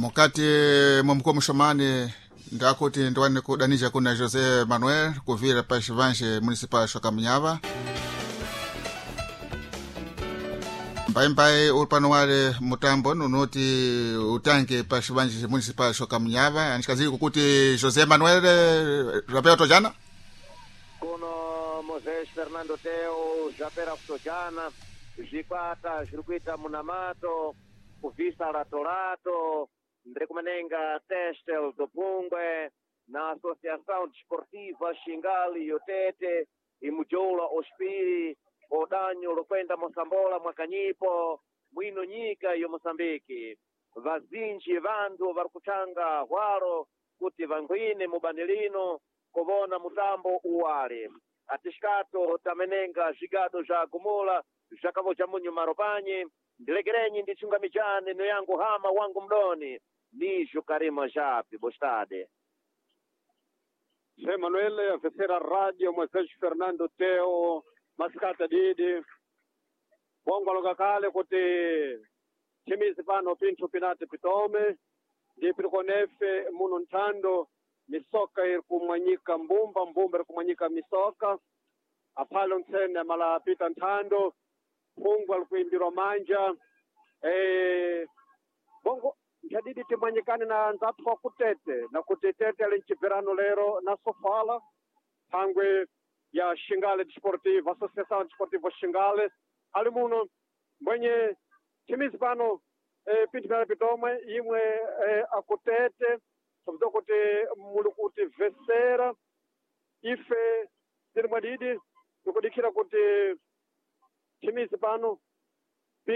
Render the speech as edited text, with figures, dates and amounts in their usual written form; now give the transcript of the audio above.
Mukati mwa mkoa Muxomani ndakuti ndiwane kudanija kuna José Manuel kuvira pa Xivanje municipal Xokamunyava. Mbaimbai uli pano wale mutambo nunoti utange pa Xivanje municipal Xokamunyava anixikazili kukuti José Manuel rapera tojana. Kuno Moisés Fernando Teo zvapera kutojana, zvikwata zviri kuita munamato kubvisa rato ndiri kumenenga Testel do Pungwe na Associação Desportiva Xingali Yotete imujoula ospiri odanyo lokwenda Mosambola mwakanyipo mwino nyika yo Moçambique. Vazinji vantu vari kuchanga hwaro kuti vangwine mubani lino kuvona mutambo uwale. Atixikato tamenenga zvigado zva gumula zvakavoja munyu maropanyi. Ndilekerenyi ndichungamijane no yangu hama wangu mdoni nijo Karima Japi bostade. Zé Manuel, a terceira rádio, Moisés Fernando Teo, Mascata Didi, Bongoloka kale kuti chimizi pano pinthu pinati pitome, ndi pirikonefe muno nthando, misoka iri kumwanyika mbumba, mbumba iri kumwanyika misoka, aphalo ntsene malapita nthando, phungwa likuimbirwa manja, bongo nchadidi timwanyikane na nzathu wa kutete na kuti tete ali mchibverano lero na sofala thangwe ya Xingale Desportivo, Associação Desportiva Xingale ali muno mbwenye chimizi pano pinthu pyale pitomwe imwe akutete sobza kuti muli kuti vesera ife tili mwadidi tikudikhira kuti chimizi pano.